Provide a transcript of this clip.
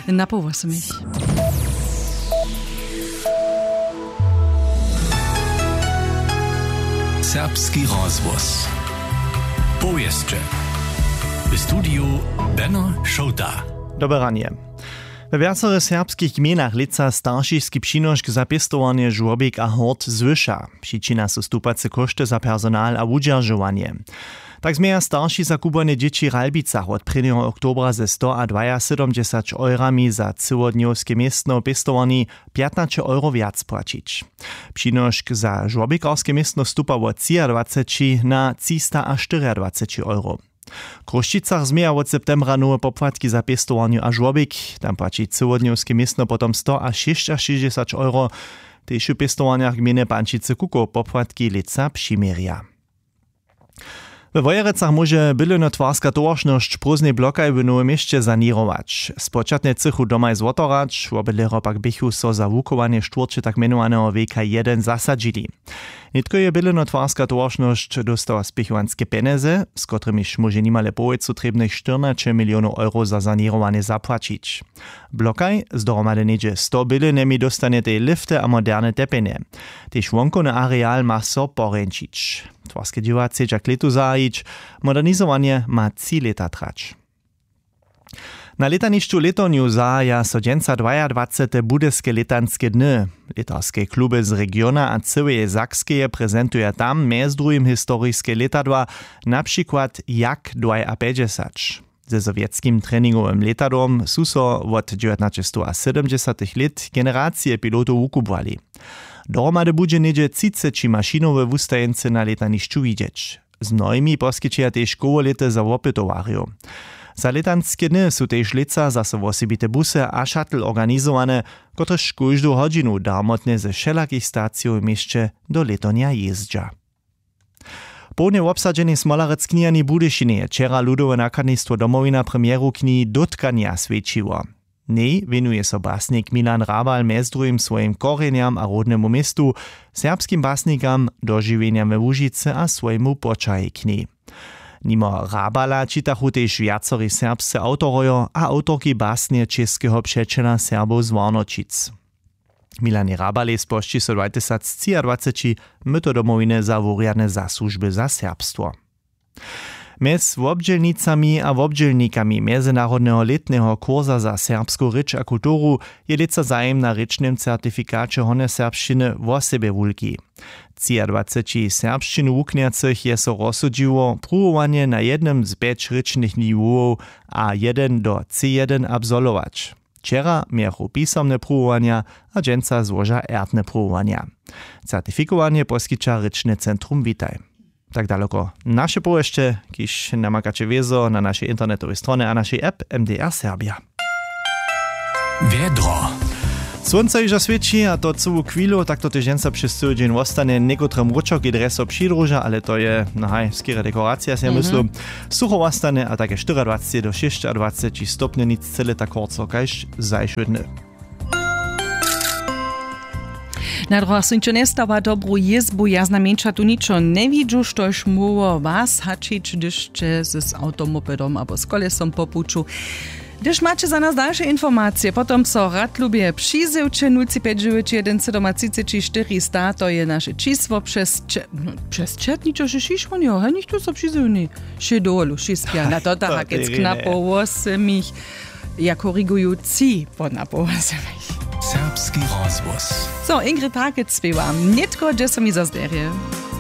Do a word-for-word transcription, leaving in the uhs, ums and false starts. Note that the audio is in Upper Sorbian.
Na połosmich. Serbski rozhłos. Powěsće. W studiju Beno Šołta. Dobre ranje. We wjacorych serbskich gmejnach lětsa staršiski přinošk za pěstowarnje žłobik a hort zwyša. Přičina su stupace kóšty za personal a wudźeržowanje. Tak změja starši za kubłanje dźěći w Ralbicach wot prěnjeho oktobra ze stoadwajasydomdźesać eurami za cyłodnjowske městno w pěstowarni pjatnaće euro wjac płaćić. Přinošk za žłobikarske městno stupa wot třiadwaceći na třistaštyriadwaceći euro. W Chrósćicach změja wot septembra nowe popłatki za pěstowarnju a žłobik. Tam płaći cyłodnjowske městno potom stoašěsćašěsćdźesać euro. Tež w pěstowarnjach gmejny Pančicy Kukow popłatki lětsa přiměrja. We Wojerecach móže bydlenotwarska towaršnosć w prózdnej blokaj w Nowym Měsće saněrować. Spočatnje chcychu domaj zwotorać, wobydlerjo pak běchu so za wuchowanje štwórće tak mjenowaneho W K jedyn zasadźili. Nětko je bydlenotwarska towaršnosć dóstała spěchowanske pjenjezy, z kotrymiž móže nimale połojcu trěbnych štyrnaće milionow euro za saněrowanje zapłaćić. Blokaj z dohromady něhdźe sto bydlenjemi dóstanjetej lifty a moderne tepjenje. Tež wonkowny areal ma so porjeńšić. Twarske dźěła chcedźa k lětu zahajić. Modernizowanje ma tři lěta trać. Na lětanišću w Lětornju zahaja so dźensa dwajadwacete budyske lětanske dny. Lětarske kluby z regiona a cyłeje Sakskeje prezentuja tam mjez druhim historiske lětadła, na přikład Jak dwajapjećdźesać. Ze sowjetskim treningowym lětadłom su so wot dźewjatnaćestowasydomdźesatych lět generacije pilotow wukubłali. Dohromady budźe něhdźe třiceći mašinowe wustajeńcy na lětanišću widźeć. Z mnohimi poskićeja tež kołolěty za wopytowarjow. Za lětanske dny su tež lětsa zaso wosebite busy a shuttle organizowane, kotrež kóždu hodźinu darmotnje ze wšelakich stacijow w měsće do Lětornja jězdźa. Połdnje wobsadźeni smolarec kniharni w Budyšinje je wčera ludowe nakladnistwo Domowina premjeru knihi Dótkanja swjećiło. W njej wěnuje so basnik Milan Hrabal mjez druhim swojim korjenjam a rodnemu městu, serbskim basnikam, dožiwjenjam we Łužicy a swojemu poćahej knihi. Nimo Hrabala čitachu tež wjacori serbsce awtorojo a awtorki basnje Čěskeho přećela Serbow z Warnoćic. Milanjej Hrabalej spožči so dwatysactřiadwaceći myto Domowiny za wurjadne zasłužby za serbstwo. Mjez wobdźělnicami a wobdźělnikami mjezynarodneho lětneho kursa za serbsku rěč a kulturu je lětsa zajim na rěčnym certifikaće hornjoserbšćiny wosebje wulki. Třiadwaceći serbšćinu wuknjacych je so rozsudźiło, pruwowanje na jednym z pjeć rěčnych niwowow A jedyn do C jedyn absolwować. Wčera mějachu pisomne pruwowanja a dźensa złoža ertne pruwowanja. Certifikowanje poskića rěčne centrum Witaj. Tak daloko naše powěsće, kiž namakaće wězo na našej internetowej stronje a našej app M D R Serbia. Wjedro. Słónce hižo swěći, a to cyłu chwilu, tak to tež dźensa přez cyły dźeń wostanje. Někotry mróčerki drje so přidruža, ale to je, no haj, skerje dekoracija, sej ja myslu. Sucho wostanje a tak je štyriadwaceći do šěsćadwaceći stopnjow, nic cyle tak horco kaž zašły dny. Na druhach sej ničo njestawa, dobru jězbu, ja znajmjeńša tu ničo njewidźu, štož móhło was haćić, hdyž sće z awtomopedom abo z kolesom po puću. Hdyž maće za nas dalše informacije, potom so rad lubje přizywće. Nul tři pjeć dźewjeć jedyn sydomatřiceći štyri sta, to je naše čisło. Přez če-, no, přez četničo še šišłonjo, hej, nichtó so přizywni. Še dowolu šispja na to, tak hakec knapo wosymich. Ja koriguju, tři po napo wosymich. Serbski rozhłos. So, Ingrid Hakec spěwa. Nětko, dźe so mi zazderje.